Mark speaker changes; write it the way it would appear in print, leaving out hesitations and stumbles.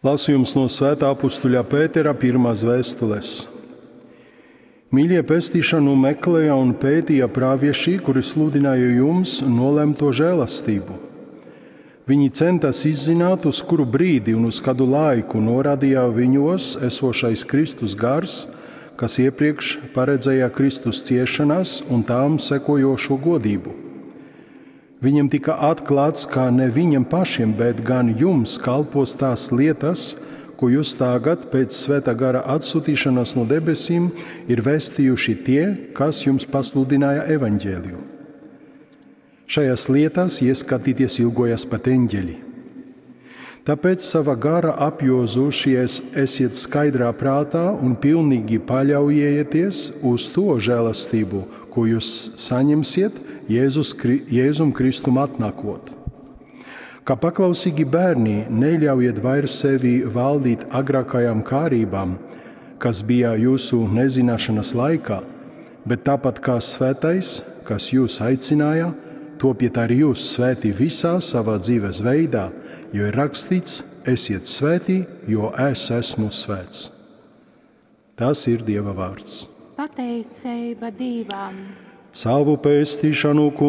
Speaker 1: Lasījums no Svētā apustuļa Pētera pirmās vēstules. Mīļie pestīšanu meklēja un pētīja pravieši, kuri sludināja jums nolemto žēlastību. Viņi centās izzināt, uz kuru brīdi un uz kādu laiku norādīja viņos esošais Kristus gars, kas iepriekš paredzēja Kristus ciešanas un tām sekojošo godību. Viņam tika atklāts, ka ne viņiem pašiem, bet gan jums kalpos tās lietas, ko jūs tagad pēc svētā gara atsūtīšanas no debesīm ir vēstījuši tie, kas jums pasludināja evaņģēliju. Šajās lietās ieskatīties ilgojas pat eņģeļi. Tāpēc sava gara apjozušies esiet skaidrā prātā un pilnīgi paļaujieties uz to žēlastību, ko jūs saņemsiet Jēzus, Jēzum Kristum atnākot. Kā paklausīgi bērni, neļaujiet vairs sevi valdīt agrākajām kārībām, kas bija jūsu nezināšanas laikā, bet tāpat kā svētais, kas jūs aicināja, topiet arī jūs svēti visā savā dzīves veidā, jo ir rakstīts: esiet svēti, jo es esmu svēts. Tas ir Dieva vārds.
Speaker 2: Pateicība Dievam!
Speaker 1: Savu pestīšanu.